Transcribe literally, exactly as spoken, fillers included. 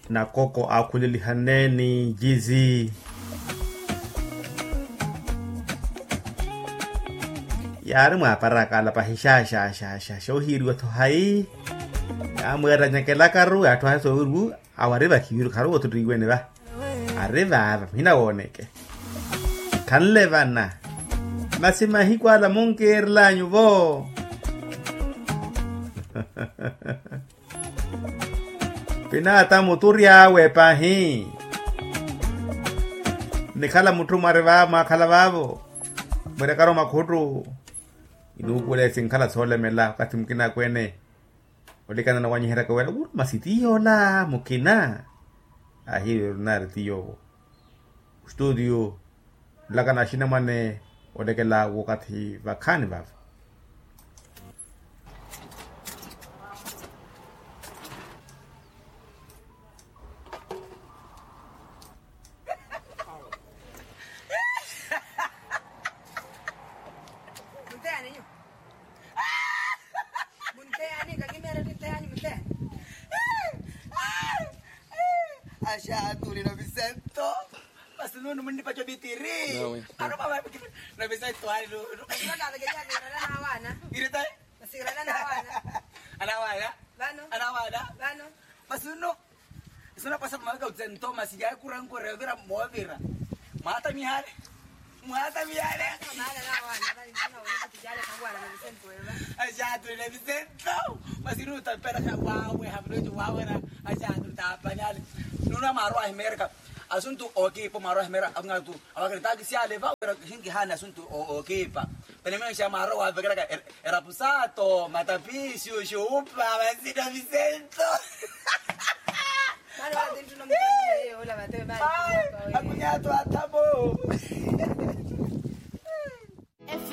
Nakoko aakhulelihaneeni jizi. Yaari mwaaparaka ala pahi xaxaxaxa ohiiriwa-tho hayi. Yaamweera anyakelakaru yaatthu ahe soowiri wu awo ari vakhiviru kharuvo-tho ttiiwene va. Ari vaava muhina wooneke. Khanle vana. Masi mahiku ala munkiirel'anyu vo. Pinaata muturi awe pahi. Nikhala mutthu mwari vaavo mwaakhala vaavo. Mwirekara omakhuttu. Inuupuwele sinkhala soolemela wakathi mukina akweene. Olikana nawanyiheryaka wira wuruma si ti yoola mukina. Ahiive orinaari ti yoowo. Ostuutiyo nlakana axinamwane olekela wakathi vakhaani vava. Munteani kakimeera tinteani munteani. Axaaturi na visento. Masi nunu munnipaca ovitiri. Aruma vavikiri na visento ali nunu. Masi vakavekeriya virala na awana. Iritayi. Masi irala na awana. Anawana. Vano. Anawana. Vano. Masi nunu. Iso napasa maveka utsento masi yakurankurya ovira moovira. Mwatamihale. Mwatamihale. Axaaturi na visento. Masi nunu taperaka wawe haviloci wawera. Axaaturi tapanihale. Nunu amaaro ahimeereka asuntu ookiipa amaaro ahimeera akunatu. Awakiritaakisiyale va wira kihinkihaani asuntu ookiipa. Penemexa maaro waavekelaka erapu saato matapiixu xuupa vasina visento. Akunyaato athapo.